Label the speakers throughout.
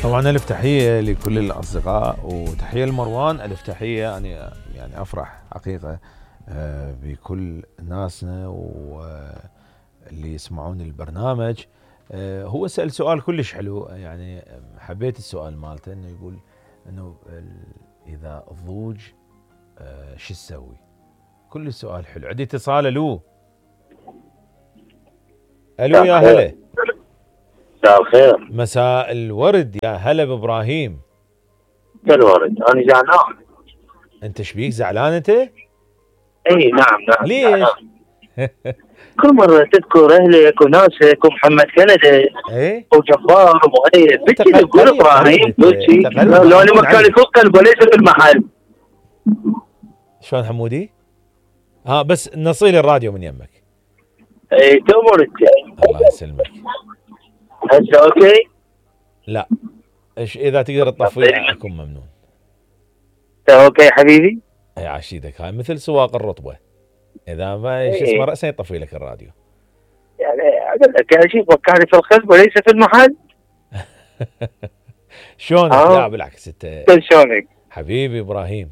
Speaker 1: طبعا ألف تحية لكل الأصدقاء وتحية لمروان. ألف تحية. أنا يعني أفرح حقيقة بكل ناسنا واللي يسمعون البرنامج. هو سأل سؤال كلش حلو، يعني حبيت السؤال مالته، انه يقول انه اذا الضوج شو تسوي؟ كل السؤال حلو. عندي اتصال. الو يا هلا.
Speaker 2: مساء الخير.
Speaker 1: مساء الورد، يا هلا بابراهيم.
Speaker 2: الورد، انا زعلان.
Speaker 1: انت شبيك زعلان انت؟
Speaker 2: اي نعم
Speaker 1: ليش؟
Speaker 2: كل مرة تذكر اهلك وناسك ومحمد كندا
Speaker 1: ايه
Speaker 2: وجبار ومؤيد، بتجي تقول ابراهيم بتجي لو انا مكاني في القلب وليس في المحل.
Speaker 1: شلون حمودي؟ بس نصيل الراديو من يمك.
Speaker 2: اي تأمر انت.
Speaker 1: الله يسلمك.
Speaker 2: هسه اوكي؟
Speaker 1: لا، اذا تقدر تطفيه اكون ممنون.
Speaker 2: اوكي حبيبي.
Speaker 1: اي عشيدك، هاي مثل سواق الرطبه، اذا ما شو اسمه راسا يطفي لك الراديو.
Speaker 2: يعني اقول لك يا شيخ وكاني في القلب وليس في المحل.
Speaker 1: شلونك؟ لا بالعكس انت
Speaker 2: شلونك
Speaker 1: حبيبي ابراهيم.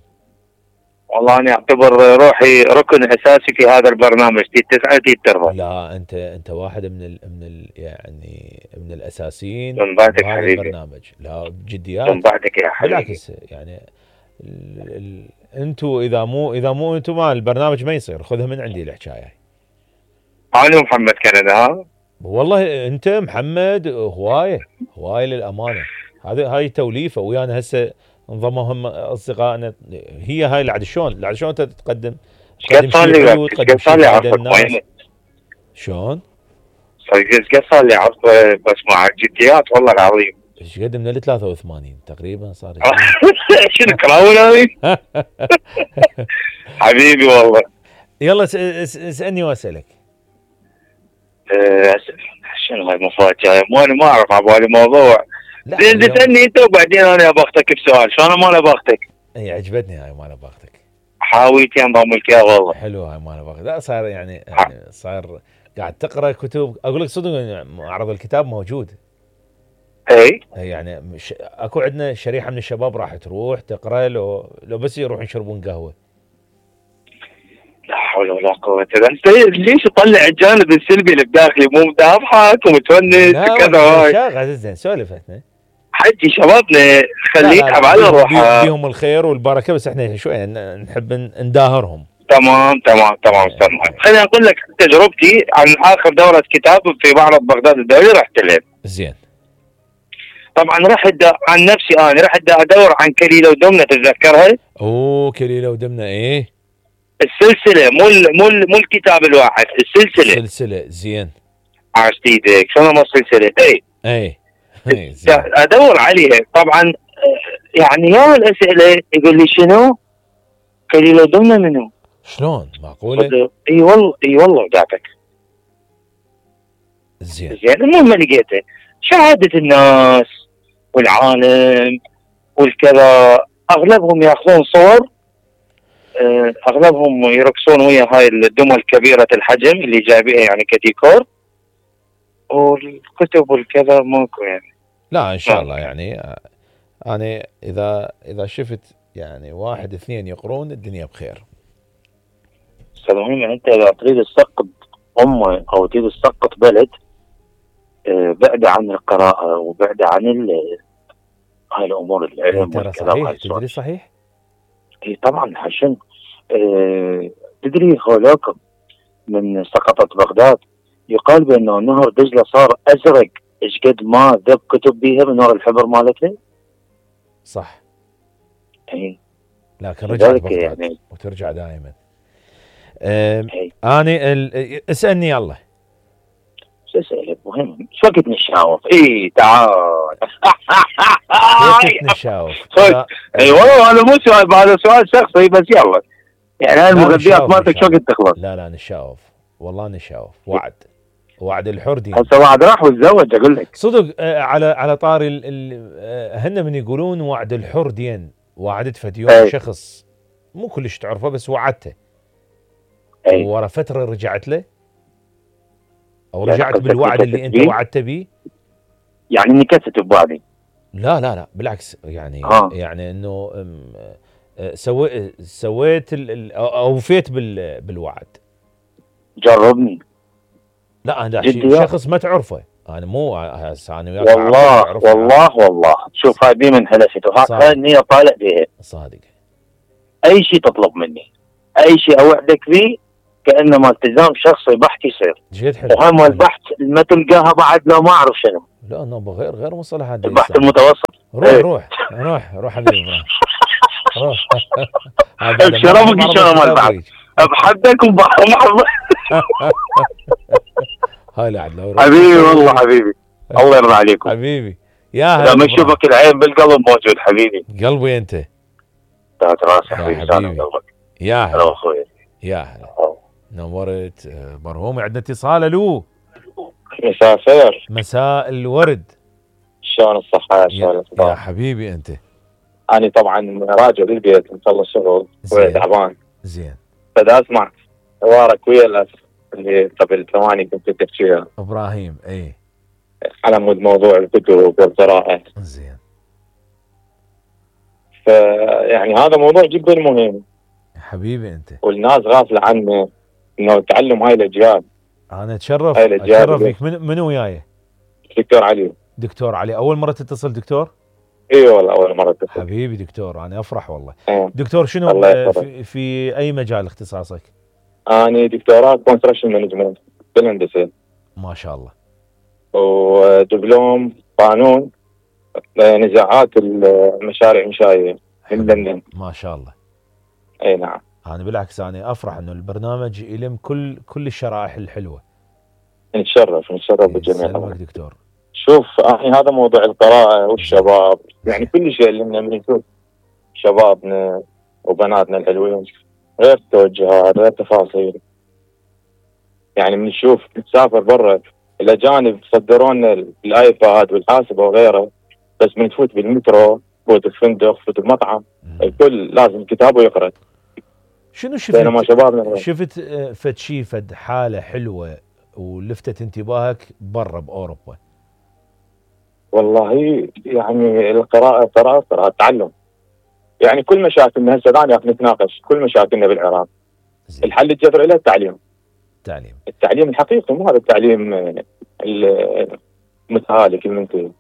Speaker 2: والله انا اعتبر روحي ركن اساسي في هذا البرنامج، تسعة تربى.
Speaker 1: لا انت واحد يعني من الاساسيين
Speaker 2: من بعدك
Speaker 1: بهذا
Speaker 2: حبيبي.
Speaker 1: البرنامج. لا بجديات
Speaker 2: من بعدك يا حبيبي.
Speaker 1: بالعكس يعني انتوا اذا مو انتوا ما البرنامج ما يصير. خذها من عندي الحكايه.
Speaker 2: انا ومحمد كندا.
Speaker 1: والله انت محمد هوايه للامانه. هاي توليفه ويانا هسه انضموا هم اصدقائنا. هي هاي العدشون انت تقدم
Speaker 2: شيء حلو، تقدم شيء فائده للناس. شلون؟ قد صار لي عرض بس مع الجديات والله العظيم.
Speaker 1: ايش قد من ال 83 تقريبا صار.
Speaker 2: شنو كراون هذه؟ حبيبي والله.
Speaker 1: يلا اسالني واسالك.
Speaker 2: شنو هاي مفاجاه؟ انا ما اعرف على بالي موضوع. زين تسالني انت وبعدين انا ابختك بسؤال. شلون ما ابختك؟
Speaker 1: اي عجبتني هاي ما ابختك.
Speaker 2: حاويتي انضم لك يا والله.
Speaker 1: حلو هاي ما ابختك. لا صار يعني صار قاعد تقرا كتب. اقول لك صدق معرض الكتاب موجود.
Speaker 2: اي
Speaker 1: يعني اكو عندنا شريحه من الشباب راح تروح تقرا لو بس يروحون يشربون قهوه.
Speaker 2: لا حول ولا قوة الا بالله. ليش تطلع الجانب السلبي اللي بداخلي؟ مو مضحك ومتونس وكذا. هاي
Speaker 1: شاغل زين سولفتنا
Speaker 2: حجي شبابنا خليك على روحها.
Speaker 1: بيهم الخير والبركه، بس احنا شويه نحب نداهرهم.
Speaker 2: تمام استاذ محمد. خليني اقول لك تجربتي عن اخر دوره كتاب في معرض بغداد الدولي رحت له.
Speaker 1: زين.
Speaker 2: طبعا رحت عن نفسي، انا رحت ادور عن كليله ودمنه، تتذكرها؟
Speaker 1: كليله ودمنه. ايه
Speaker 2: السلسله، مو الكتاب الواحد،
Speaker 1: السلسله. زين.
Speaker 2: عرفت ايدك شلون ما السلسله.
Speaker 1: اي
Speaker 2: ادور عليها طبعا. يعني يا الاسئله يقول لي شنو؟ كليله ودمنه منو؟
Speaker 1: شلون معقوله؟
Speaker 2: اي والله قاعدك.
Speaker 1: زين
Speaker 2: المهم لقيته شهاده الناس والعالم والكذا. اغلبهم ياخذون صور، اغلبهم يرقصون ويا هاي الدمى الكبيره الحجم اللي جايبيها يعني كديكور. والكتب والكذا ماكو يعني.
Speaker 1: لا ان شاء الله يعني انا اذا شفت يعني واحد اثنين يقرون الدنيا بخير.
Speaker 2: المهم انت اذا تريد تسقط امه او تريد تسقط بلد، بعد عن القراءه وبعد عن هاي الامور العلم
Speaker 1: ترى صحيح. تدري صحيح؟
Speaker 2: اي طبعا. عشان تدري هولاكم من سقطت بغداد يقال بانه نهر دجله صار ازرق ايش قد ما ذب كتب بيها من ورا الحبر مالته.
Speaker 1: صح.
Speaker 2: اي
Speaker 1: لكن رجعت بغداد يعني وترجع دائما. انا اسالني يلا.
Speaker 2: شو اسالك؟ مهم شو وقت نشاوف؟ اي تعال.
Speaker 1: وقت نشاوف.
Speaker 2: اي والله هذا مو سؤال، هذا سؤال شخصي بس يلا. يعني هاي المغذيات مالتك شو وقت تخلص؟
Speaker 1: لا نشاوف والله نشاوف. وعد الحر دين.
Speaker 2: هسه وعد راح وتزوج اقول لك
Speaker 1: صدق. على طاري هن من يقولون وعد الحر دين. وعدت فد يوم شخص مو كلش تعرفه بس وعدته. ورا فتره رجعت له او رجعت بالوعد اللي انت وعدت بيه.
Speaker 2: يعني نكست بوعدي.
Speaker 1: لا لا لا بالعكس، يعني
Speaker 2: ها
Speaker 1: يعني انه سويت اوفيت بالوعد.
Speaker 2: جربني.
Speaker 1: لا انا
Speaker 2: جدي
Speaker 1: شخص ما تعرفه، انا مو هسه انا وياك اعرفك
Speaker 2: والله
Speaker 1: تعرفني
Speaker 2: والله والله، شوف هاي دي من هلسته، هاي
Speaker 1: صادق
Speaker 2: النية طالع بيها.
Speaker 1: صادق.
Speaker 2: اي شيء تطلب مني، اي شيء اوعدك فيه، كانما التزام شخصي بحت يصير.
Speaker 1: جد حلو
Speaker 2: وهاي مال
Speaker 1: حلو.
Speaker 2: البحث ما تلقاها بعد، لا ما اعرف شنو،
Speaker 1: لا انه غير مصطلحات دي
Speaker 2: البحث
Speaker 1: يستعمل.
Speaker 2: المتوسط.
Speaker 1: روح
Speaker 2: ايه
Speaker 1: روح روح روح حبيبي ابراهيم روح. هاي بعد
Speaker 2: بشرفك ان
Speaker 1: معرض
Speaker 2: شاء الله مال
Speaker 1: الكتاب
Speaker 2: البحث،
Speaker 1: ذيك.
Speaker 2: بحدك وبحر محمد.
Speaker 1: هاي لا عاد لو رحت
Speaker 2: حبيبي والله
Speaker 1: تسوي.
Speaker 2: حبيبي، الله يرضى عليكم.
Speaker 1: حبيبي يا هلا
Speaker 2: لما
Speaker 1: ابراهيم.
Speaker 2: اشوفك العين بالقلب موجود حبيبي.
Speaker 1: قلبي انت
Speaker 2: تحت راسي
Speaker 1: يا
Speaker 2: حبيبي، سالم
Speaker 1: حبيبي.
Speaker 2: قلبك.
Speaker 1: يا
Speaker 2: انا
Speaker 1: هلا
Speaker 2: واخوي.
Speaker 1: يا هلا. نورت مرهوم. عندنا اتصال. الو
Speaker 2: مساء الخير.
Speaker 1: مساء الورد.
Speaker 2: شلون الصحة؟ شلون
Speaker 1: يا
Speaker 2: الاخبار؟
Speaker 1: حبيبي انت.
Speaker 2: انا طبعا راجع للبيت مخلص شغل
Speaker 1: زين.
Speaker 2: تعبان،
Speaker 1: زين
Speaker 2: فدا اسمع حوارك ويا الاخ اللي قبل ثواني كنت تحكيها
Speaker 1: ابراهيم. اي
Speaker 2: على مود موضوع الكتب والقراءة.
Speaker 1: زين.
Speaker 2: فيعني هذا موضوع جدا مهم
Speaker 1: حبيبي انت.
Speaker 2: والناس غافلة عنه، انه تعلم هاي الاجيال.
Speaker 1: انا اتشرف
Speaker 2: هاي الأجيال
Speaker 1: اتشرف فيك. منو وياي؟
Speaker 2: دكتور علي.
Speaker 1: دكتور علي. اول مره تتصل دكتور؟
Speaker 2: اي والله اول مرة تتصل.
Speaker 1: حبيبي دكتور انا افرح والله.
Speaker 2: اه.
Speaker 1: دكتور شنو
Speaker 2: الله يحفظك.
Speaker 1: في اي مجال اختصاصك؟
Speaker 2: انا دكتوراه كونستراكشن مانجمنت بالهندسة،
Speaker 1: ما شاء الله.
Speaker 2: ودبلوم قانون نزاعات المشاريع الانشائية من لندن.
Speaker 1: ما شاء الله.
Speaker 2: اي نعم.
Speaker 1: انا بالعكس انا افرح انه البرنامج يلم كل الشرائح الحلوه.
Speaker 2: نتشرف بالجميع.
Speaker 1: سلامك دكتور.
Speaker 2: شوف يعني هذا موضوع القراءة والشباب، يعني كل شيء لنا من نشوف شبابنا وبناتنا الحلوين، غير توجهات غير تفاصيل. يعني من نشوف نسافر برا، الأجانب صدروا لنا الآيباد والحاسبة وغيره، بس من تفوت بالمترو، تفوت الفندق، تفوت المطعم، الكل لازم كتاب ويقرأ.
Speaker 1: شنو شفت؟
Speaker 2: بينما شبابنا
Speaker 1: شفت فد شي فد حاله حلوه ولفتت انتباهك برا باوروبا؟
Speaker 2: والله يعني القراءة تعلم. يعني كل مشاكلنا هسه ثاني نتناقش، كل مشاكلنا بالعراق
Speaker 1: زين.
Speaker 2: الحل الجذري له التعليم. التعليم الحقيقي، مو هذا التعليم المتهالك المنتهي.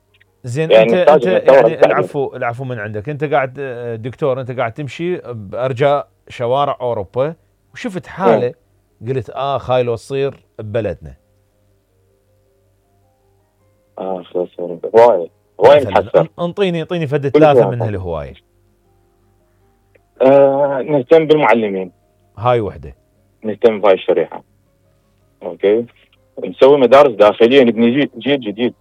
Speaker 1: زين.
Speaker 2: يعني
Speaker 1: انت يعني
Speaker 2: التعليم.
Speaker 1: العفو من عندك. انت قاعد دكتور، انت قاعد تمشي بارجاء شوارع اوروبا وشفت حاله قلت هاي لو تصير ببلدنا.
Speaker 2: خلاص هوايه نحسن.
Speaker 1: انطيني فد ثلاثه من هالهوايه.
Speaker 2: نهتم بالمعلمين،
Speaker 1: هاي وحده.
Speaker 2: نهتم بهاي الشريحه. اوكي. نسوي مدارس داخليه، نبني جيل جديد.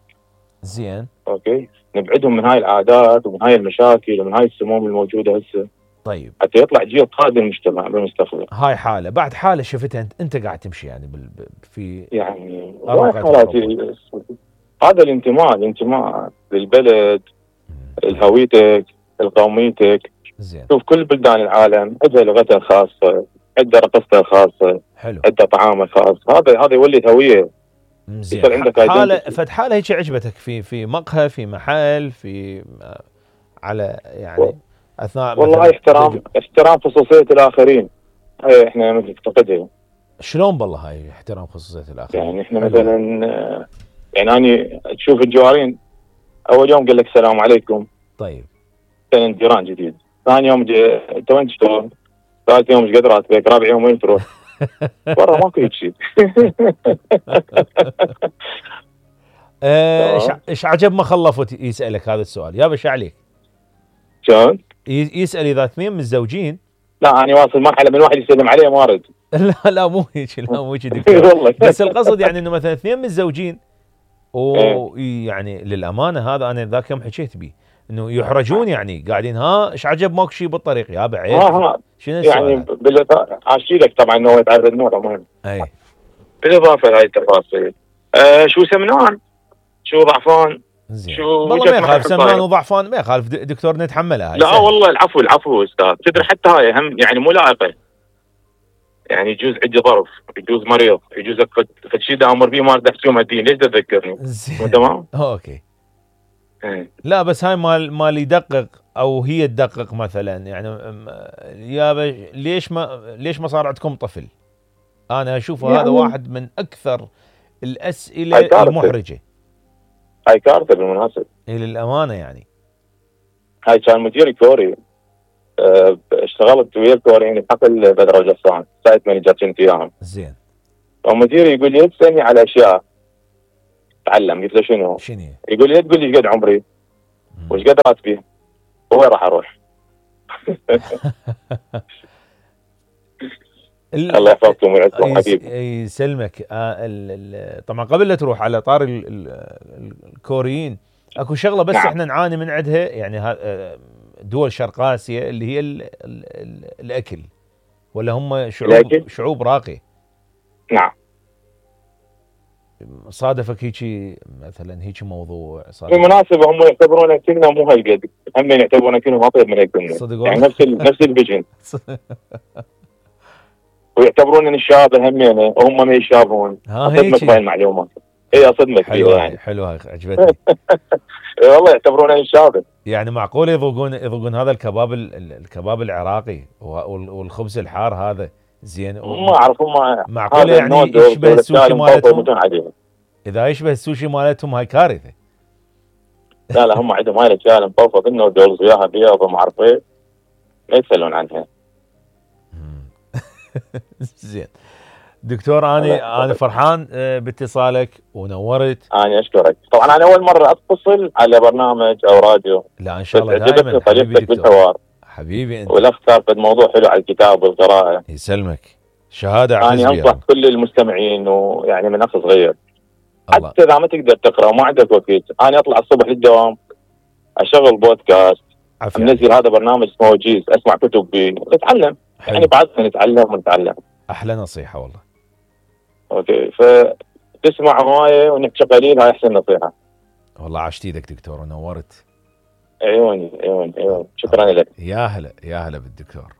Speaker 1: زين.
Speaker 2: اوكي. نبعدهم من هاي العادات ومن هاي المشاكل ومن هاي السموم الموجوده هسه.
Speaker 1: طيب.
Speaker 2: حتى يطلع جيل قادم المجتمع بالمستقبل.
Speaker 1: هاي حاله بعد حاله شفتها انت قاعد تمشي يعني في
Speaker 2: يعني هذا الانتماء للبلد، لهويتك، لقوميتك.
Speaker 1: زين.
Speaker 2: شوف كل بلدان العالم عندها لغتها الخاصه، عندها رقصتها الخاصه،
Speaker 1: حلو،
Speaker 2: عندها طعامها الخاص. هذا يولد هويه.
Speaker 1: زين.
Speaker 2: عندك
Speaker 1: حاله هيك عجبتك في مقهى، في محل، في على يعني اثناء
Speaker 2: والله احترام خصوصيه الاخرين. هاي احنا نفتقدها.
Speaker 1: شلون بالله هاي احترام خصوصيه الاخرين؟
Speaker 2: يعني احنا مثلا يعني اني تشوف الجوارين، اول يوم قال لك السلام عليكم.
Speaker 1: طيب.
Speaker 2: كان جيران جديد. ثاني يوم انت وين تشتغل؟ ثالث يوم ايش قد راتبك؟ رابع يوم وين تروح؟ برا ماكو هيك شيء.
Speaker 1: ايش عجب ما خلفت يسالك هذا السؤال؟ يابا ايش عليك؟
Speaker 2: شلون؟
Speaker 1: يسال اذا اثنين متزوجين.
Speaker 2: لا انا واصل مرحله من واحد يسلم عليه ما ارد.
Speaker 1: لا مو هيك، لا مو هيك دكتور. بس القصد يعني انه مثلا اثنين متزوجين ويعني للامانه هذا انا ذاك يوم حكيت به انه يحرجون، يعني قاعدين ايش عجب ماكو شيء بالطريق يا بعيد. شنو السؤال؟
Speaker 2: يعني عاشي لك طبعا انه يتعرض نوع مهم.
Speaker 1: اي.
Speaker 2: بالاضافه لهي التفاصيل شو سمنان، شو ضعفان،
Speaker 1: زين. والله ما يخالف سمنان وضعفان، ما يخالف دكتور نتحملها هاي.
Speaker 2: لا سهل. والله العفو استاذ. تدري حتى هاي هم يعني مو لائقه. يعني يجوز عندي ظرف، يجوز مريض، يجوز فد شيء دا امر بيه ما اريد احكي الدين، ليش تذكرني؟
Speaker 1: زين.
Speaker 2: تمام؟
Speaker 1: اوكي. لا بس هاي مال يدقق او هي تدقق مثلا، يعني يابا ليش ما صار عندكم طفل؟ انا اشوف
Speaker 2: يعني
Speaker 1: هذا واحد من اكثر الاسئله
Speaker 2: هاي كارثة،
Speaker 1: المحرجه.
Speaker 2: هاي كارثة بالمناسبة.
Speaker 1: للامانه يعني.
Speaker 2: هاي كان مديري كوري، اشتغلت ويا الكوريين بحقل بدر وجسان سايت مانجر كنت وياهم.
Speaker 1: زين.
Speaker 2: ومديري يقول لي تسالني على اشياء تعلم. قلت له شنو؟ يقول لي تقول لي ايش قد عمري وايش قد راتبي وين راح اروح. الله يحفظكم ويعزكم حبيبي.
Speaker 1: يسلمك. طبعا قبل لا تروح على طار الكوريين، اكو شغله بس
Speaker 2: نعم.
Speaker 1: احنا نعاني من عندها، يعني دول شرق اسيا، اللي هي الاكل، ولا هم شعوب راقيه.
Speaker 2: نعم.
Speaker 1: صادفك هيجي مثلا هيجي موضوع
Speaker 2: بالمناسبه هم يعتبرون كلنا مو هالقد، هم يعتبرون كلهم اطيب من هالقد، يعني نفس الفيجن. ويعتبرون ان الشباب همينه وهم ما يشابهون. اصدمك بهاي المعلومات. اي اصدمك فيها يعني.
Speaker 1: حلوه عجبتني.
Speaker 2: والله يعتبرون ان الشباب.
Speaker 1: يعني معقول يذوقون هذا الكباب العراقي والخبز الحار هذا زين؟
Speaker 2: ما اعرف هم
Speaker 1: معقول يعني يشبه السوشي مالتهم؟ اذا يشبه السوشي مالتهم هاي كارثه.
Speaker 2: لا هم عندهم هاي الاشياء مفوفه انه دولز وياها بيض وما اعرف ايه، ما يتسالون عنها.
Speaker 1: زين دكتور، انا فرحان باتصالك ونورت.
Speaker 2: انا اشكرك. طبعا انا اول مره اتصل على برنامج او راديو.
Speaker 1: لا ان شاء الله دائما
Speaker 2: طريقتك بالحوار
Speaker 1: حبيبي انت.
Speaker 2: والاختار في موضوع حلو على الكتاب والقراءه.
Speaker 1: يسلمك. شهاده اعتز بها.
Speaker 2: انا انصح كل المستمعين، ويعني من اخ صغير حتى اذا ما تقدر تقرا وما عندك وقت، انا اطلع الصبح للدوام اشغل بودكاست، منزل هذا برنامج اسمه وجيز، اسمع كتب نتعلم. يعني بعدنا نتعلم ونتعلم.
Speaker 1: احلى نصيحه والله.
Speaker 2: اوكي، فتسمع هوايه ونحكي قليل، هاي احسن نصيحه.
Speaker 1: والله عاشت ايدك دكتور ونورت.
Speaker 2: عيوني. شكرا لك.
Speaker 1: يا هلا بالدكتور.